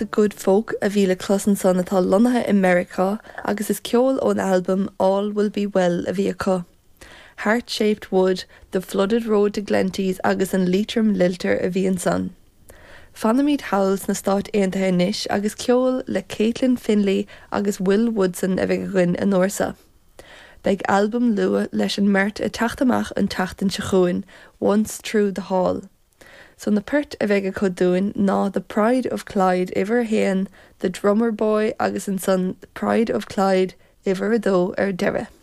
The Good Folk a bhí le clos ansan atá lonnaithe i Meiriceá agus is ceol ón albam All Will Be Well a bhí acu. Heart Shaped Wood, The Flooded Road to Glenties agus an Leitrim Lilter a bhí ansan. Fanaimid thall sna Stáit Aontaithe anois agus ceol le Caitlin Finley agus Will Woodson a bheidh againn an uair seo. Beidh albam luath leis an mbeirt ag teacht amach an tseachtain seo chugainn, Once Through the Hall. So na poirt a bheidh acu dúinn ná The Pride of Clyde uimhir a haon, The Drummer Boy agus ansan The Pride of Clyde uimhir a dó ar deireadh.